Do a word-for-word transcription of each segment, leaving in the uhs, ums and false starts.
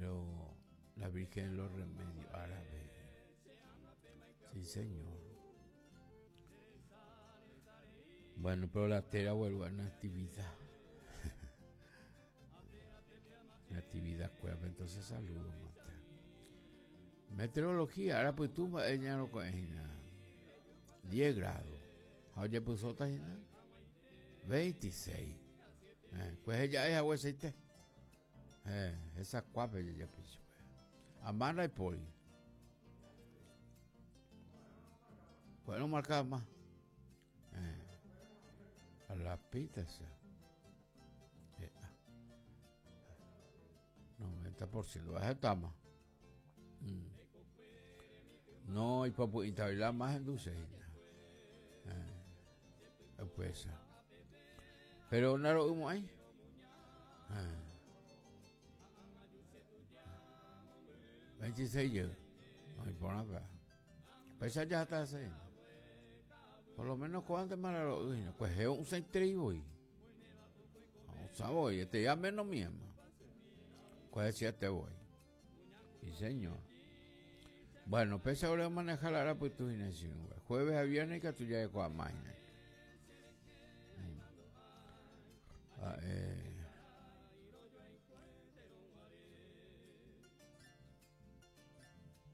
Pero la Virgen de los Remedios árabe. Sí, señor. Bueno, pero la tera vuelve a natividad. Natividad cueva, entonces saludo, mata. Meteorología, ahora pues tú, ella no diez grados. Oye, pues otra veintiséis. Eh, pues ella es agua aceite. Eh, esa cuapa ella piso. Amara y poli. Pues no marcaba más. Eh, a la pita esa. Eh, noventa por ciento. Baja tama. Mm. No, y papu, y la más en dulce. Eh, pues. Pero no lo vimos ahí. Eh. veintiséis yo. No importa nada. Pues ya está así. Por lo menos cuánto más lo vimos. Pues es un centrivo y. No sabo, y este ya menos mismo. ¿Cuál es este voy? Sí, señor. Bueno, pues ahora manejar la pues tu jueves a viernes que tú ya con la máquina. Ah, eh.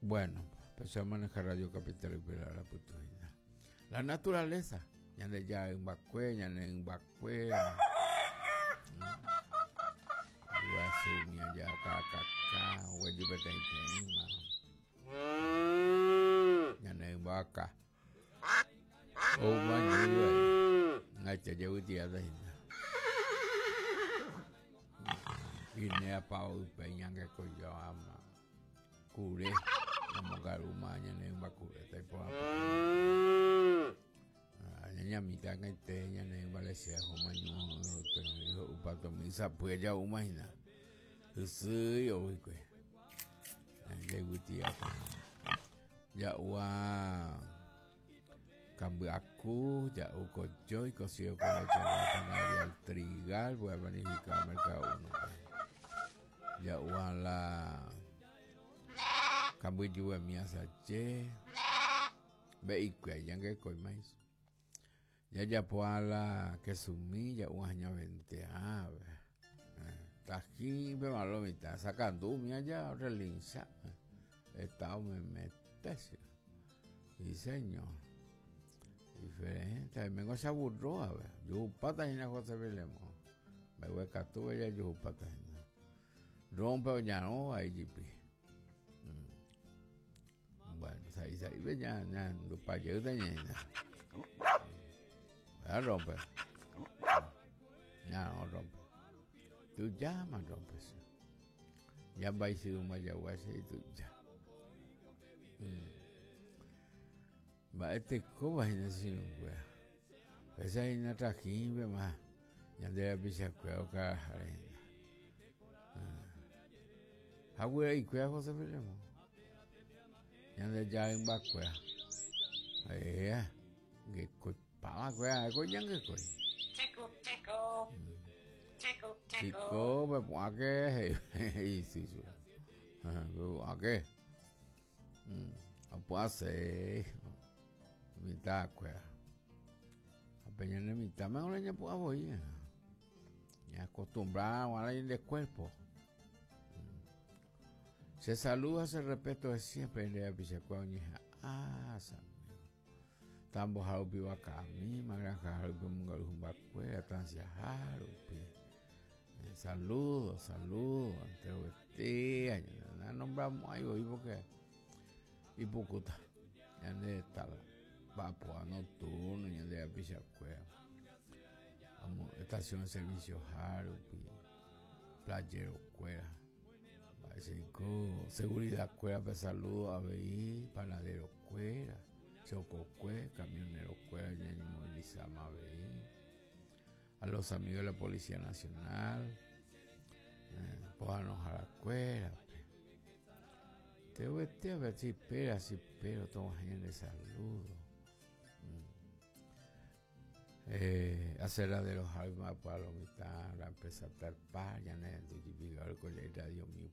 Bueno, empecé a manejar Radio Capital y la putuina. La naturaleza, ya de ya en Bacue, ya en Bacue. Ya acá, ya en vaca. Oh, man, ay, te llevo día de Guinea pao peña que coyo ama. Cure, como garuma, ñane bakure, tai po. Ñaña mitad que te ñane vale sea maño, upato misa pues ya umahina. Usu yo kwe. Ya Ya ua cambiacu, ya u coyo y cocido con leche de al trigal, voy a planificar mercado uno. Ya ua la cambiu mía sache. Ve y que ya que coi mais. Ya ya poala que sumí ya ua ña veinte ave. Tají ve malo mitad sacando mía ya relincha. Estado me mete. Y señor. Diferente. Me goza burro a ver. Yo pata y na José Belemo. Me voy a catuve ya yo pata. Rompe ya no ahí jipi. Bueno, ahí ahí ve ya ya lo pa yo de ña. Ya rompe. Ya no rompe. Tú llamas rompes. Ya va y si un mayahuase y tú ya. Va este coba y así pues. Esa es una trajimbe más. Ya de la pisa cueo cara. Agua y cuea José Belemo. Ya de ya en bacuea. Eh, que copa cuea, coñan que coi. Chico, chico. Chico, chico. Chico, me pongo que sí, sí. Me pongo que. No puedo hacer. Mitad cuea. Apenas en mitad me voy a voy. Ya acostumbrado a la del cuerpo. Se saluda, se respeto de siempre en la pichacua oñeja. Ah, Tambo jarupi wakami, magranja jarupi mungaruj bacuea, tancia jarupi. Saludos, saludos, ante no nombramos ahí hoy porque y pucuta, ya de está vapor nocturno, ya de la pichacua. Vamos, estación de servicio jarupi, playero cuera. Cinco, seguridad cuera, pues saludo a B I, panadero cuera, chococue, camionero cuera, ya movilizamos a B I, a los amigos de la Policía Nacional, eh, pónganos a la cuera. Te voy a ver si espera, si espero, toma de saludo. Eh, hacer la de los almas para la mitad, la empresa Tarpa, ya no es radio mío.